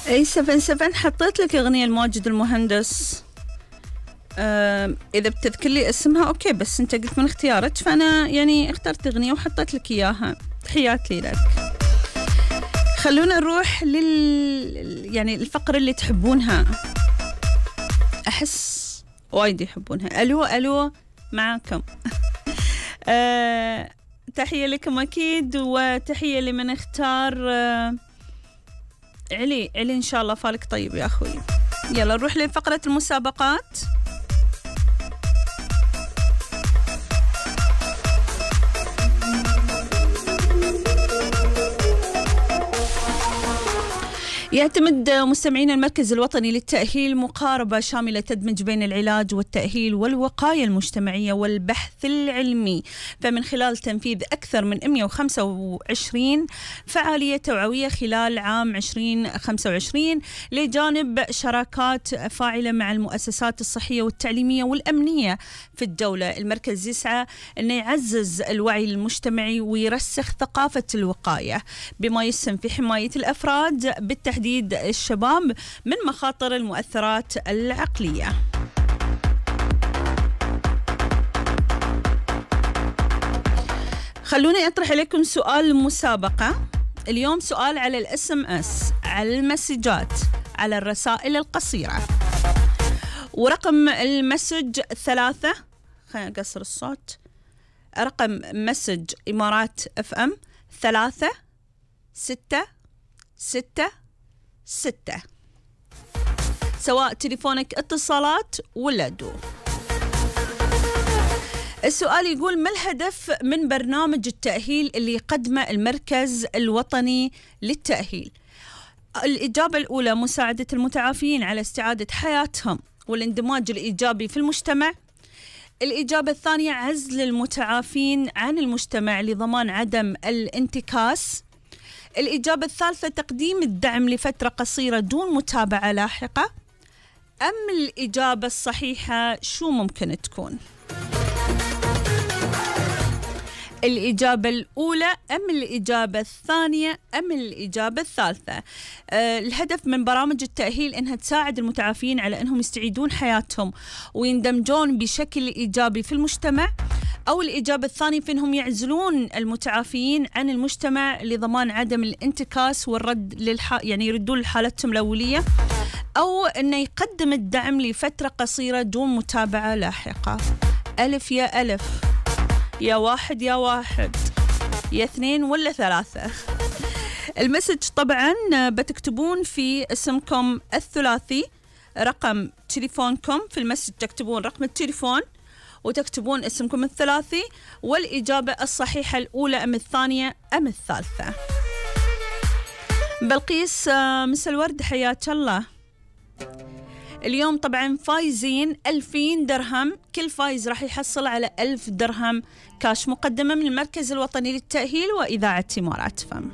اي 77 حطيت لك اغنية الماجد المهندس. اذا بتذكر لي اسمها اوكي، بس انت قلت من اختيارك فانا يعني اخترت اغنية وحطيت لك اياها. تحياتي لك. خلونا نروح يعني الفقرة اللي تحبونها، احس وايد يحبونها. الو الو معاكم. تحية لكم اكيد، وتحية لمن اختار. علي إن شاء الله فالك طيب يا أخوي. يلا نروح لفقرة المسابقات. يعتمد مستمعين المركز الوطني للتأهيل مقاربة شاملة تدمج بين العلاج والتأهيل والوقاية المجتمعية والبحث العلمي، فمن خلال تنفيذ أكثر من 125 فعالية توعوية خلال عام 2025 لجانب شراكات فاعلة مع المؤسسات الصحية والتعليمية والأمنية في الدولة. المركز يسعى أنه يعزز الوعي المجتمعي ويرسخ ثقافة الوقاية بما يسهم في حماية الأفراد بالتحديد الشباب من مخاطر المؤثرات العقلية. خلوني أطرح عليكم سؤال مسابقة اليوم. سؤال على الاسم اس، على المسجات، على الرسائل القصيرة، ورقم المسج 3. خلينا نقصر الصوت. رقم مسج إمارات FM 36666، سواء تليفونك اتصالات ولا دو. السؤال يقول: ما الهدف من برنامج التأهيل اللي يقدمه المركز الوطني للتأهيل؟ الإجابة الأولى: مساعدة المتعافين على استعادة حياتهم والاندماج الإيجابي في المجتمع. الإجابة الثانية: عزل المتعافين عن المجتمع لضمان عدم الانتكاس. الإجابة الثالثة: تقديم الدعم لفترة قصيرة دون متابعة لاحقة. أم الإجابة الصحيحة شو ممكن تكون؟ الإجابة الأولى أم الإجابة الثانية أم الإجابة الثالثة؟ الهدف من برامج التأهيل إنها تساعد المتعافين على إنهم يستعيدون حياتهم ويندمجون بشكل إيجابي في المجتمع. أو الإجابة الثانية في إنهم يعزلون المتعافين عن المجتمع لضمان عدم الانتكاس والرد يعني يردون لحالتهم الأولية. أو إنه يقدم الدعم لفترة قصيرة دون متابعة لاحقة. ألف يا ألف، يا واحد يا واحد، يا اثنين ولا ثلاثة. المسج طبعا بتكتبون في اسمكم الثلاثي، رقم تليفونكم في المسج تكتبون رقم التليفون وتكتبون اسمكم الثلاثي والإجابة الصحيحة الأولى أم الثانية أم الثالثة. بلقيس مسا الورد، حياك الله. اليوم طبعا فايزين 2000 درهم، كل فايز راح يحصل على 1000 درهم كاش مقدمة من المركز الوطني للتأهيل وإذاعة إمارات فم.